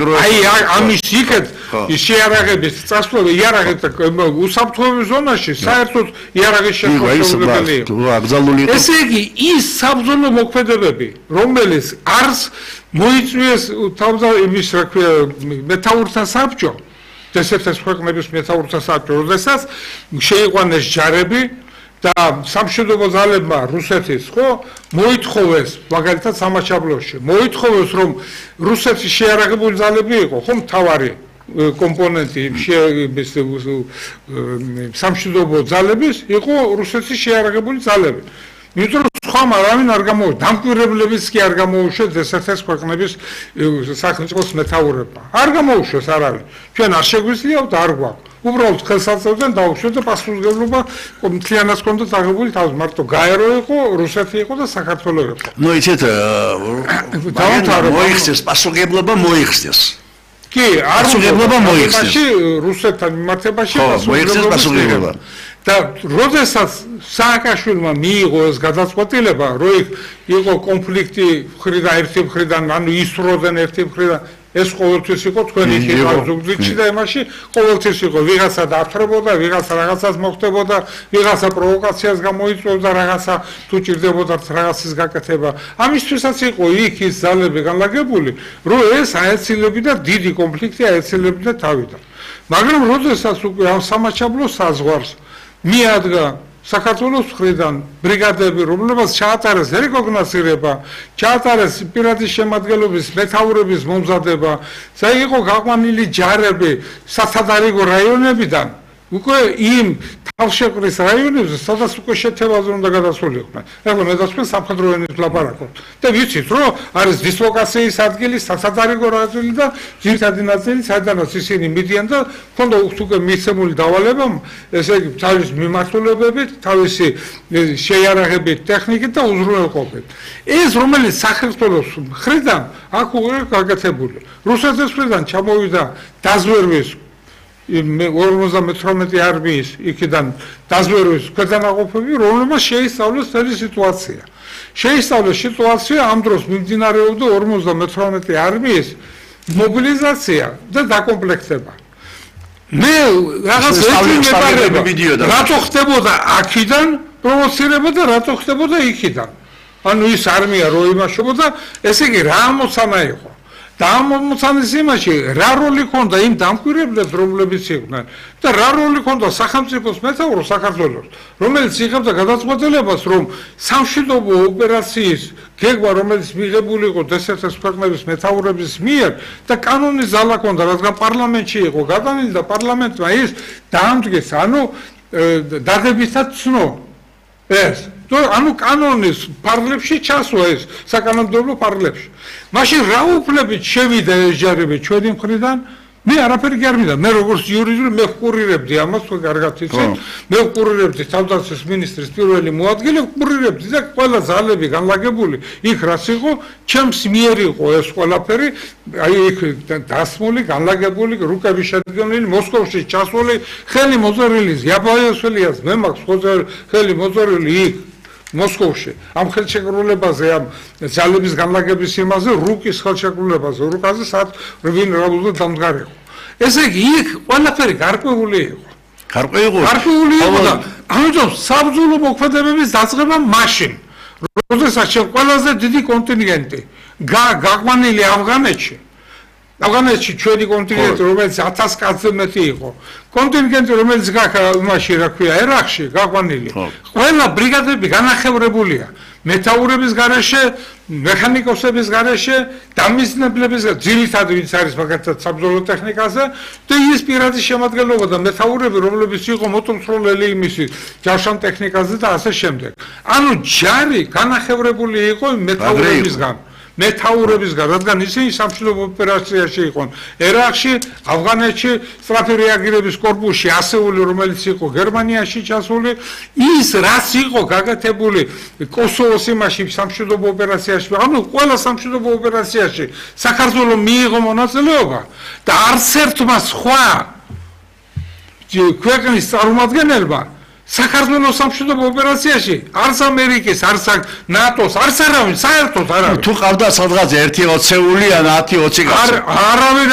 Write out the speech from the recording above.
აი ამის იქეთ შეარაღების წასვლელი იარაღეთ უსაფრთხოების ზონაში საერთოდ იარაღის შეხვედრები იყო. ესე იგი ის საბრძოლო მოქმედებები, რომელიც არს მოიწვიეს თავდაპირველად რა ქვია მეთაურთა საბჭო, დსთ-ის ქვეყნების მეთაურთა საბჭო, როდესაც შეიყვანეს ჯარები და სამშვიდობო ძალებმა რუსეთის ხო მოითხოვეს მაგალითად სამაჩაბლოში მოითხოვეს რომ რუსეთის შეარაღებული ძალები იყო ხო მთავარი კომპონენტი სამშვიდობო ძალების იყო რუსეთის შეარაღებული ძალები იმიტომ რომ სხვა არავინ არ გამოუშვეს დამკვირვებლებიც კი არ გამოუშვეს დსთ-ის ქვეყნების სახელმწიფოს მეთაურებმა არ გამოუშვეს არავინ ჩვენ არ შეგვიძლია და არ გვაქვს უბრალოდ ხელსაწყოდან დაუშვეს და პასუხისმგებლობა მთლიანად ჰქონდათ აღებული თავის მარტო გაერო იყო რუსეთი იყო და საქართველო იყო ნუ იცით მოიხსნეს პასუხისმგებლობა მოიხსნეს კი არ პასუხისმგებლობა მოიხსნეს რუსეთთან მიმართებაში პასუხისმგებლობა და როდესაც სააკაშვილმა მიიღო ეს გადაწყვეტილება რომ იყო კონფლიქტი მხრიდან ერთი მხრიდან ანუ ისროდნენ ერთი მხრიდან ეს ყოველთვის იყო თქვენი ზუგდიდში და იმაში ყოველთვის იყო ვიღაცა დაფრებოდა, ვიღაცა რაღაცას მოხდებოდა, ვიღაცა პროვოკაციას გამოიწვევდა რაღაცა თუ ჭირდებოდა რაღაცის გაკეთება. ამისთვისაც იყო იქ ის ძალები განლაგებული, რომ ეს აეცილებდა დიდი კონფლიქტი აეცილებდა თავიდან. მაგრამ როდესაც უკვე ამ სამაჩაბლოს საზღვარს მიადგა საქართველოს მხრიდან ბრიგადები, რომლებსაც ჩაატარეს რეკოგნოსცირება, ჩაატარეს პირადის შემადგენლობის მეთაურების მომზადება, იყო გაყვანილი ჯარები საცადარიგო რაიონებიდან, უკვე იმ თავშეყრის რაიონებზე, სადაც უკვე შეთევაზე უნდა გადასულიყვნენ. ეხლა მე დასვენ სამხედრო ენით ვლაპარაკობ. და ვიცით, რომ არის დისლოკაციის ადგილი საცადარიგო რაიონი და ძირითადი ნაწილი, სადაც ისინი მიდიან და ქონდა უკვე მიცემული დავალება, ესე იგი თავის მიმართულებებით, თავისი შეიარაღებით, ტექნიკით და უზრუნველყოფით. ეს რომელიც საქართველოს მხრიდან აქ უკვე გაკეთებული. რუსეთის მხრიდან ჩამოვიდა დაზვერვის 58 არმიის იქიდან დაზვერვის ქვედანაყოფები, რომელმაც შეისწავლეს მთელი სიტუაცია. შეისწავლეს სიტუაცია ამ დროს მიმდინარეობდა 58 არმიის მობილიზაცია და დაკომპლექტება. მე რაღაც რატო ხდებოდა აქიდან პროვოცირება და რატო ხდებოდა იქიდან. ანუ ის არმია რო იმაშობოდა, ესე იგი რა ამოცანა იყო. და ამ მომცანის იმაში რა როლი ჰქონდა იმ დამკვირვებლებს რომლებიც იყვნენ და რა როლი ჰქონდა სახელმწიფოს მეთაურს საქართველოს რომელიც იღებდა გადაწყვეტილებას რომ სამშვიდობო ოპერაციის გეგმა რომელიც მიღებული იყო დსთ-ის ქვეყნების მეთაურების მიერ და კანონის ძალა ჰქონდა რადგან პარლამენტში იყო გადანილი და პარლამენტმა ის დაამტკიცა ანუ დადებითად ცნო ეს ანუ კანონის პარლებში ჩასვა ეს საკანონმდებლო პარლებში მაშინ რა უფლებით შევიდა ეს ჯარები ჩვენი მხრიდან მე არაფერი კი არ მინდა მე როგორც იურისტი მე ვყურირებდი ამას თუ კარგად იცით მე ვყურირებდი თავდაცვის მინისტრის პირველი მოადგილე ვყურირებდი და ყველა ძალები განლაგებული იქ რაც იყო ჩემს მიერ იყო ეს ყველაფერი აი იქ დასმული განლაგებული რუკები შედგენილი მოსკოვში ჩასული ხელი მოწერილი ზიაბაიოსველიას მე მაქვს ხელი მოწერილი იქ მოსკოვში ამ ხელშეკრულებაზე ამ ძალების განლაგების იმაზე რუკის ხელშეკრულებაზე რუკაზე სად რვინ რაბულა დამდგარიყო ესე იგი იქ ყველაფერი გარკვეული იყო გარკვეული იყო და ამიტომ საბრძოლო მოქმედებების დაწყება მაშინ როდესაც ყველაზე დიდი კონტინგენტი გაყვანილი ავღანეთში ჩვენი კონტინგენტი რომელიც 1000 კაცზე მეტი იყო კონტინგენტი რომელიც იმაში რა ქვია ერაყში გაყვანილი ყველა ბრიგადები განახევრებულია მეთაურების გარეშე მექანიკოსების გარეშე დამიზნებლების ძირითადად ვინც არის მაგალითად საბრძოლო ტექნიკაზე და ის პირადი შემადგენლობა და მეთაურები რომლებიც იყო მოტომსროლელი იმისი ჯავშან ტექნიკაზე და ასე შემდეგ ანუ ჯარი განახევრებული იყო მეთაურებისგან, რადგან ისინი სამშვიდობო ოპერაციაში იყვნენ. ერაყში, ავღანეთში, სწრაფი რეაგირების კორპუსში, ასეული, რომელიც იყო გერმანიაში ჩასული, ის რაც იყო გაკეთებული კოსოვოს იმაში სამშვიდობო ოპერაციაში, ანუ ყველა სამშვიდობო ოპერაციაში საქართველო მიიღო მონაწილეობა და არც ერთმა სხვა ქვეყნის წარმომადგენელმა საქართველოს სამშვიდობო ოპერაციაში არც ამერიკის, არც ნატოს, არც არავინ, საერთოდ არავინ. თუ ყავდა სადღაც 1-20 ან 10-20 კაცი. არავინ